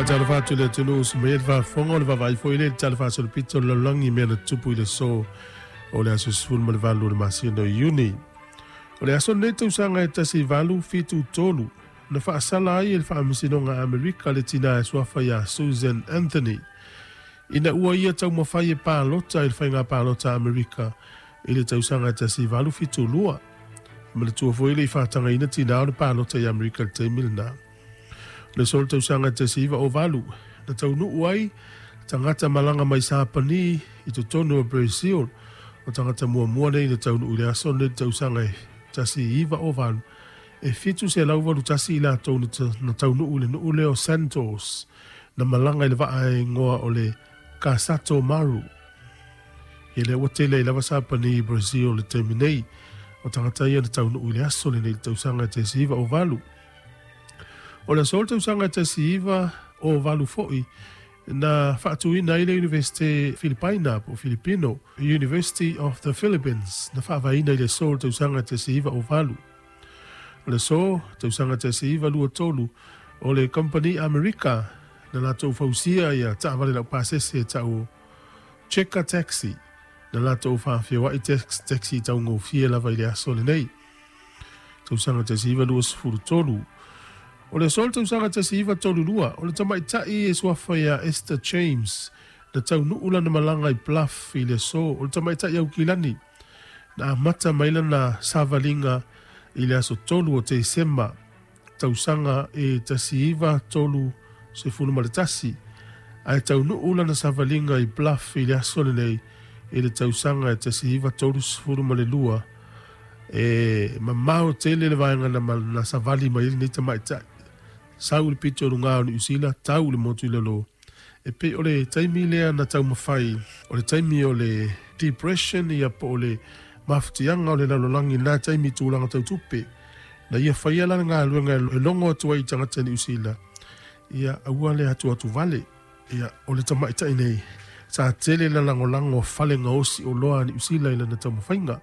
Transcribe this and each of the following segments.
Faatalofa atu i le atunuu usu mai ai le faafofoga o le vaavaai foi lea i le Tala Faasolopito o le Lalolagi i mea na tutupu i le aso o le aso 18 o le masina o Iuni. O le aso lenei tausaga e 1873 na faasala ai e le Faamasinoga a Amerika le tina e suafa iā Susan Anthony ina ua ia taumafai e palota i le faiga palota a Amerika i le tausaga e 1872. E manatua foi e le i faatagaina tinā o le palota i Amerika i le taimi lenā. O le aso o le tausaga e 1908 na taunuu ai tagata malaga mai Sapani i totonu o Brazil. O tagata muamua nei na taunuu i le aso lenei i le tausaga e 1908, e 781 i latou na taunuu i le nuu lea o Santos, na malaga i le vaa e igoa o le Kasato Maru. Ia lea ua tele ai lava Sapani i Brazil i le taimi nei. O tagata ia na taunuu i le aso lenei i le tausaga e 1908. O le aso o le tausaga e 1908 foi na faatuina ai le Iunivesite Filipaina po o Filipino, University of the Philippines, na faavaeina i le aso o le tausaga e 1908. O le aso tausaga 1923, o le kamupani Amerika na latou fausia ia taavale laupasese e tau o Checker Taxi, na latou faafeoai taxi taugofie lava i le aso lenei. Tausaga 1923. O le aso o le tausaga 1932, o le tamaitai e suafa ia Esther James, na taunuu lana malaga i Bluff i le aso o le tamaitai Aukilani, na amata mai lana savaliga i le aso 3 o Tesema, tausaga e 1931, ae taunuu lana savaliga i Bluff i le aso lenei i le tausaga e 1932. E mamao tele le vaega na savali mai ai lenei tamaitai. Sau i le pito i luga o Niu Sila, tau i le motu i lalo. E pei o le taimi lea na taumafai, o le taimi o le Depression ia po o le mafatiaga o le lalolagi i lena taimi i tulaga tau tupe. Na ia faia la le galuega e logo atu ai i tagata Niu Sila, ia aua le atuatu vale. Ia, o le tamaitai nei, sa tele le lagolago a fale gaosi oloa a Niu Sila i lana taumafaiga.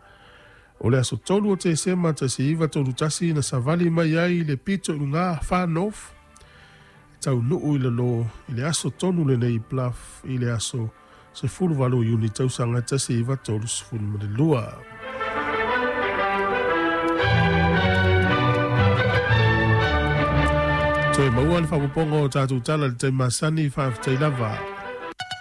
O le aso 3 o Tesema 1931 na savali mai ai le pito i luga Far North, e taunuu i lalo i le aso tonu lenei i Bluff i le aso 18 o Iuni tausaga 1932. Toe maua le faaopoopoga o tatou tala i le taimi masani, faafetai lava.